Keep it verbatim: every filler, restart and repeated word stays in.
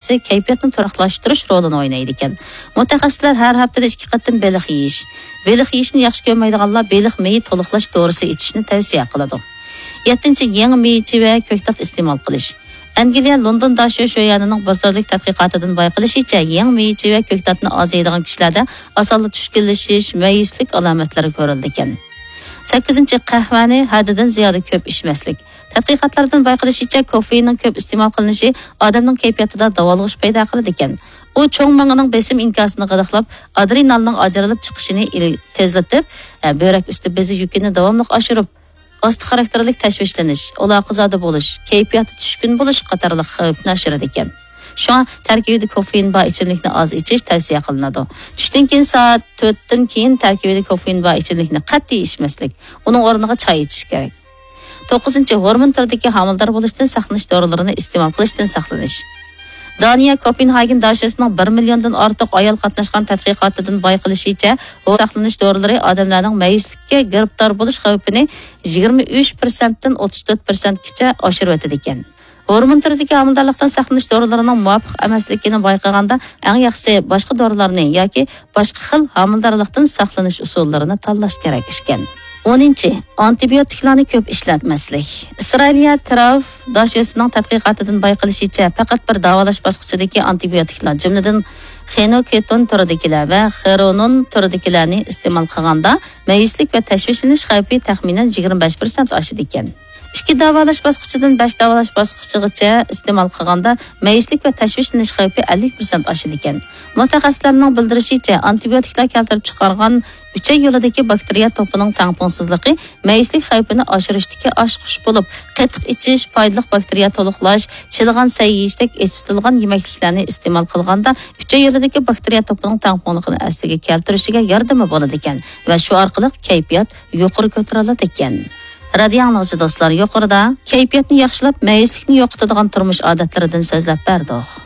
كەيپىياتنى تۇراقلاشتۇرۇش رولىنى ئوينايدىكەن. مۇتەخەسسىسلەر ھەر ھەپتىدە ئىككى قېتىم بېلىق يېيىش، بېلىق يېيىشنى ياخشى كۆرمەيدىغانلار بېلىق مېيى تولۇقلاش دورىسى ئىچىشنى تەۋسىيە قىلىدۇ. يەتتىنچى، يېڭى مېۋە-چېۋە، كۆكتات ئىستېمال قىلىش. ئەنگلىيە لوندون داشۆ شۆيەنىنىڭ بىر تۈرلۈك تەتقىقاتىدىن بايقىلىشىچە، يېڭى مېۋە-چېۋە، كۆكتاتنى ئاز يەيدىغان كىشىلەردە ئاسانلا چۈشكۈنلىشىش، مەيۈسلۈك ئالامەتلىرى كۆرۈلىدىكەن. سەككىزىنچى، قەھۋەنى ھەددىدىن زىيادە كۆپ ئىچمەسلىك. تەتقىقاتلاردىن بايقىلىشىچە، كوفېئىننىڭ كۆپ ئىستېمال قىلىنىشى ئادەمنىڭ كەيپىياتىدا داۋالغۇش پەيدا قىلىدىكەن. ئۇ چوڭ مېڭىنىڭ بېسىم ئىنكاسىنى غىدىقلاپ، ئادرېنالنىڭ ئاجرىلىپ چىقىشىنى ئىل-، تېزلىتىپ، ئە، بۆرەك ئۈستى بېزى يۈكىنى داۋاملىق ئاشۇرۇپ، ئاستا خاراكتېرلىك تەشۋىشلىنىش، ئالاقىزادە بولۇش، كەيپىياتى چۈشكۈن بولۇش قاتارلىق خەۋپنى ئاشۇرىدىكەن. شۇڭا تەركىبىدە كوفېئىن بار ئىچىملىكنى ئاز ئىچىش تەۋسىيە قىلىنىدۇ. چۈشتىن كېيىن سائەت تۆتتىن كېيىن تەركىبىدە كوفېئىن بار ئىچىملىكنى قەتئىي ئىچمەسلىك، ئۇنىڭ ئورنىغا چاي ئىچىش كېرەك. توققۇزىنچى، ھورمون تۈرىدىكى ھامىلىدار بولۇشتىن ساقلىنىش دورىلىرىنى ئىستېمال قىلىشتىن ساقلىنىش. دانىيە كوپېنھاگېن داشۆسىنىڭ بىر مىليوندىن ئارتۇق ئايال قاتناشقان تەتقىقاتىدىن بايقىلىشىچە، ھورمون ساقلىنىش دورىلىرى ئادەملەرنىڭ مەيۈسلۈككە گىرىپتار بولۇش خەۋپىنى يىگىرمە ئۈچ پىرسەنتتىن ئوتتۇز تۆت پىرسەنتكىچە ئاشۇرۇۋېتىدىكەن. ھورمون تۈرىدىكى ھامىلىدارلىقتىن ساقلىنىش دورىلىرىنىڭ مۇۋاپىق ئەمەسلىكىنى بايقىغاندا، ئەڭ ياخشىسى باشقا دورىلارنى ياكى باشقا خىل ھامىلىدارلىقتىن ساقلىنىش ئۇسۇللىرىنى تاللاش كېرەك ئىكەن. ئونىنچى، ئانتىبىيوتىكلارنى كۆپ ئىشلەتمەسلىك. ئىسرائىلىيە تراف داشۆسىنىڭ تەتقىقاتىدىن بايقىلىشىچە، پەقەت بىر داۋالاش باسقۇچىدىكى ئانتىبىيوتىكلار، جۈملىدىن خېنوكېتون تۈرىدىكىلەر ۋە خېرونون تۈرىدىكىلەرنى ئىستېمال قىلغاندا، مەيۈسلۈك ۋە تەشۋىشلىنىش خەۋپى تەخمىنەن يىگىرمە بەش پىرسەنت ئاشىدىكەن. ئىككى داۋالاش باسقۇچىدىن بەش داۋالاش باسقۇچىغىچە ئىستېمال قىلغاندا، مەيۈسلۈك ۋە تەشۋىشلىنىش خەۋپى ئەللىك پىرسەنت ئاشىدىكەن. مۇتەخەسسىسلەرنىڭ بىلدۈرۈشىچە، ئانتىبىيوتىكلار كەلتۈرۈپ چىقارغان ئۈچەي يولىدىكى باكتېرىيە توپىنىڭ تەڭپۇڭسىزلىقى مەيۈسلۈك خەۋپىنى ئاشۇرۇشتىكى ئاچقۇچ بولۇپ، قېتىق ئىچىش، پايدىلىق باكتېرىيە تولۇقلاش، چىلىغان سەي يېيىشتەك ئېچىتىلغان يېمەكلىكلەرنى ئىستېمال قىلغاندا، ئۈچەي يولىدىكى باكتېرىيە توپىنىڭ تەڭپۇڭلۇقىنى ئەسلىگە كەلتۈرۈشىگە ياردىمى بولىدىكەن ۋە شۇ ئارقىلىق كەيپىيات يۇقىرى كۆتۈرۈلىدىكەن. رادىيو ئاڭلىغۇچى دوستلار، يۇقىرىدا كەيپىياتنى ياخشىلاپ، مەيۈسلۈكنى يوقىتىدىغان تۇرمۇش ئادەتلىرىدىن سۆزلەپ بەردۇق.